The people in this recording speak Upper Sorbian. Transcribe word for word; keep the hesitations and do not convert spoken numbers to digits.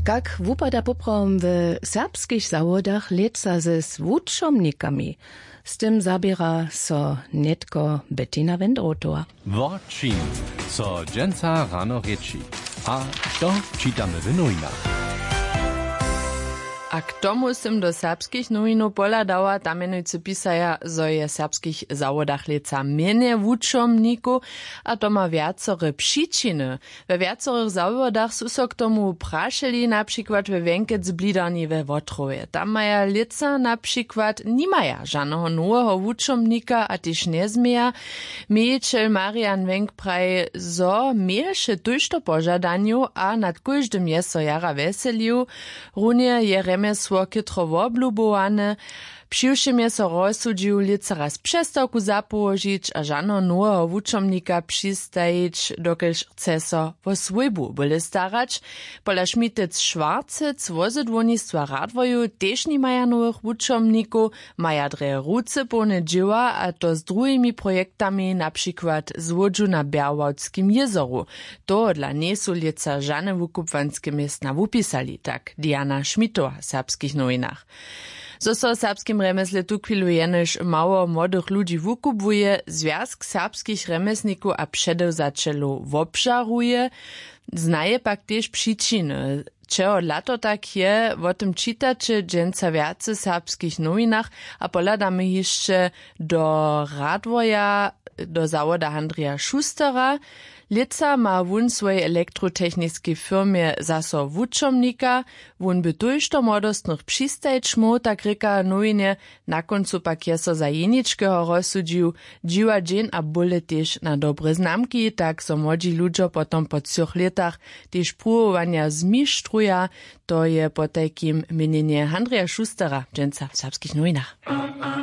Tak wupada poprawom w serbskich zawodach lětsa ze z wučomnikami. Z tym zaběra so nětko Bettina Wendrotowa. Wo čim so dźensa rano rěči a što čitamy w nowinach? A k tomu sym do serbskich nowinow pohladała, tam mjenujcy pisaja, zo je w serbskich zawodach lětsa mjenje wučomnikow. A to ma wjacore přičiny. We wjacorych zawodach su so k tomu prašeli, na přikład we wjenkec blidarni we wotrowje, tam maja lětsa na přikład nimaja žaneho noweho wučomnika a tež njezměja. Mějićel marian wenk praji, zo měješe tójšto požadanjow a nad kóždym je so jara wjeselił. Runje je rjemjesło chětro woblubowane. Přiwšěm je so rozsudźił lětsa raz přestawku zapołožić a žaneho noweho wučomnika přistajić, dokelž chce so wo swójbu bóle starać. Pola šmitec šwarcec wozydłownistwa radworju tež nimaja nowych wučomnikow, maja drje ruce połne dźěła, a to z druhimi projektami, na přikład złódźu na bjerwałtskim jězoru. Tohodla njejsu lětsa žane wukubłanske městna wupisali, tak diana šmitowa w serbskich nowinach. Zo so w serbskim rjemjesle tuchwilu jenož mało młodych ludźi wukubłuje, zwjazk serbskich rjemjesnikow a předewzaćelow wobžaruje. Znaje pak tež přičiny, čehodla to tak je, wo tym čitaće dźensa wjace w serbskich nowinach. A pohladamy hišće do radworja, do zawoda handrija šustera. Lětsa ma wón swojej elektrotechniskej firmje zaso wučomnika. Wón by tójšto młodostnych přistajić móhł, tak rěka nowinje. Na kóncu pak je so za jeničkeho rozsudźił. Dźiwa dźeń a bóle tež na dobre znamki, tak zo młodźi ludźo potom po třoch lětach tež pruwowanja zmištruja. To je potajkim měnjenje handrija šustera dźensa w serbskich nowinach.